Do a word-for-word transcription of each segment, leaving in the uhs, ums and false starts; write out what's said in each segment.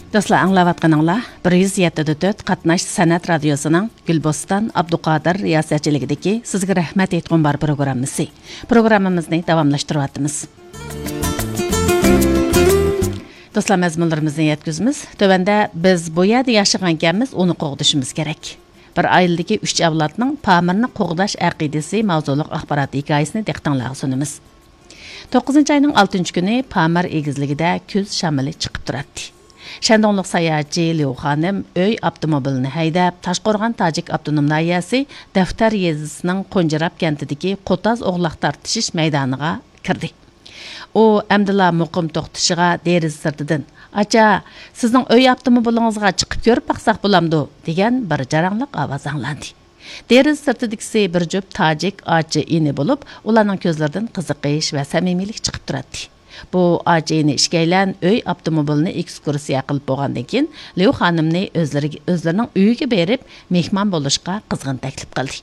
دوستلار، ئاڭلاۋاتقىنىڭلار بىر يۈز يەتتە دە تۆت قاتناش سەنئەت رادىيوسىنىڭ گۈلبوستان ئابدۇقادىر رىياسەتچىلىكىدىكى سىزگە رەھمەت ئېيتقۇم بار پروگراممىسى. پروگراممىمىزنى داۋاملاشتۇرۇۋاتىمىز. دوستلار، مەزمۇنلىرىمىزنى يەتكۈزىمىز. تۆۋەندە بىز بۇ يەردە ياشىغانكەنمىز، ئۇنى قوغدىشىمىز كېرەك. بىر ئائىلىدىكى ئۈچ ئەۋلادنىڭ پامىرنى قوغداش ئەقىدىسى ماۋزۇلۇق ئاخبارات ھېكايىسىنى دىققىتىڭلارغا سۇنىمىز. توققۇزىنچى ئاينىڭ ئالتىنچى كۈنى پامىر ئېگىزلىكىدە كۈز شامىلى چىقىپ تۇراتتى. شەندۇڭلۇق ساياھەتچى ليۇ خانىم ئۆي ئاپتوموبىلىنى ھەيدەپ، تاشقورغان تاجىك ئاپتونوم ناھىيەسى دەفتەر يېزىسىنىڭ قونجىراپ كەنتىدىكى قوتاز ئوغلاق تارتىشىش مەيدانىغا كىردى. ئۇ ئەمدىلا مۇقىم توختىشىغا دېرىزە سىرتىدىن، «ئاچا، سىزنىڭ ئۆي ئاپتوموبىلىڭىزغا چىقىپ كۆرۈپ باقساق بولامدۇ؟» دېگەن بىر جاراڭلىق ئاۋاز ئاڭلاندى. دېرىزە سىرتىدىكىسى بىر جۈپ تاجىك ئاچا-ئىنى بولۇپ، ئۇلارنىڭ كۆزلىرىدىن قىزىقىش ۋە سەمىمىيلىك چىقىپ تۇراتتى. بۇ ئاچا-ئىنى ئىككىيلەن ئۆي ئاپتوموبىلىنى ئېكسكۇرسىيە قىلىپ بولغاندىن كېيىن، ليۇ خانىمنى ئۆزلىرىگە، ئۆزلىرىنىڭ ئۆيىگە بېرىپ مېھمان بولۇشقا قىزغىن تەكلىپ قىلدى.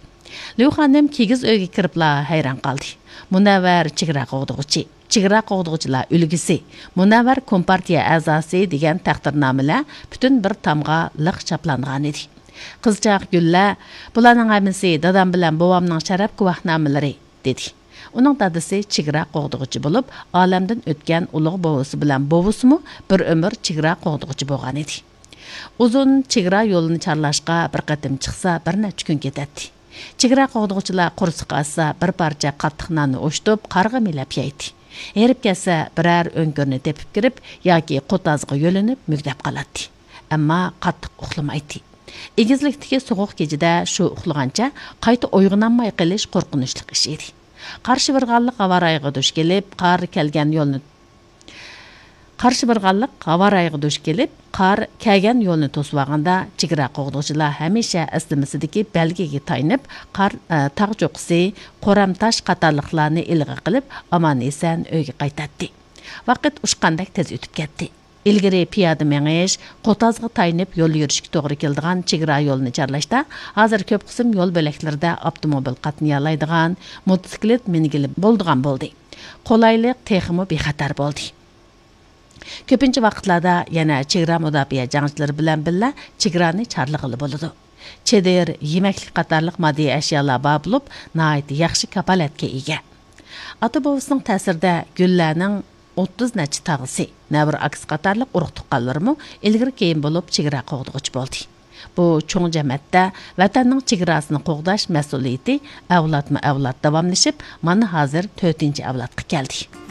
ليۇ خانىم كىگىز ئۆيگە كىرىپلا ھەيران قالدى. مۇنەۋۋەر چېگرا قوغدىغۇچى، چېگرا قوغدىغۇچىلار ئۈلگىسى، مۇنەۋۋەر كومپارتىيە ئەزاسى دېگەن تەقدىرنامىلەر پۈتۈن بىر تامغا لىق چاپلانغانىدى. قىزچاق گۈللە، «بۇلارنىڭ ھەممىسى دادام بىلەن بوۋامنىڭ شەرەپ گۇۋاھنامىلىرى» دېدى. ئۇنىڭ دادىسى چېگرا قوغدىغۇچى بولۇپ، ئالەمدىن ئۆتكەن ئۇلۇغ بوۋىسى بىلەن بوۋىسىمۇ بىر ئۆمۈر چېگرا قوغدىغۇچى بولغانىدى. ئۇزۇن چېگرا يولىنى چارلاشقا بىر قېتىم چىقسا، بىر نەچچە كۈن كېتەتتى. چېگرا قوغدىغۇچىلار قورسىقى ئاچسا، بىر پارچە قاتتىق ناننى ئوشتۇپ، قارغا مىلەپ يەيتتى. ھېرىپ كەتسە، بىرەر ئۆڭكۈرنى تېپىپ كىرىپ ياكى قوتازغا يۆلىنىپ مۈگدەپ قالاتتى. ئەمما قاتتىق ئۇخلىمايتتى. ئېگىزلىكتىكى سوغۇق كېچىدە شۇ ئۇخلىغانچە قايتا ئويغىنالماي قېلىش قورقۇنچلۇق ئىش ئىدى. قارشى بىر غاللىق ھاۋارايىغا دۇچ كېلىپ، قار كەلگەن يولنى، قارشى بىر غاللىق ھاۋارايىغا دۇچ كېلىپ، قار كەلگەن يولنى توسۇۋالغاندا، چېگرا قوغدىغۇچىلار ھەمىشە ئەسلىمىسىدىكى بەلگىگە تايىنىپ، قار، ئە، تاغ چوققىسى، قورام تاش قاتارلىقلارنى ئىلغا قىلىپ، ئامان-ئېسەن ئۆيگە قايتاتتى. ۋاقىت ئۇچقاندەك تېز ئۆتۈپ كەتتى. ئىلگىرى پىيادە مېڭىش، قوتازغا تايىنىپ يول يۈرۈشكە توغرا كېلىدىغان چېگرا يولىنى چارلاشتا، ھازىر كۆپ قىسىم يول بۆلەكلىرىدە ئاپتوموبىل قاتنىيالايدىغان، موتوسىكلىت مىنگىلى بولىدىغان بولدى. قولايلىق تېخىمۇ بىخەتەر بولدى. كۆپىنچە ۋاقىتلاردا يەنە چېگرا مۇداپىئە جەڭچىلىرى بىلەن بىللە چېگرانى چارلىغىلى بولىدۇ. چېدىر، يېمەكلىك قاتارلىق ماددىي ئەشيالار بار بولۇپ، ناھايىتى ياخشى كاپالەتكە ئىگە. ئاتا-بوۋىسىنىڭ تەسىرىدە گۈللەنىڭ ئوتتۇز نەچچە تاغىسى، نەۋرە ئاكىسى قاتارلىق ئۇرۇق-تۇغقانلىرىمۇ ئىلگىرى-كېيىن بولۇپ چېگرا قوغدىغۇچى بولدى. بۇ چوڭ جەمەتتە ۋەتەننىڭ چېگراسىنى قوغداش مەسئۇلىيىتى ئەۋلادمۇ-ئەۋلاد داۋاملىشىپ، مانا ھازىر تۆتىنچى ئەۋلادقا كەلدى.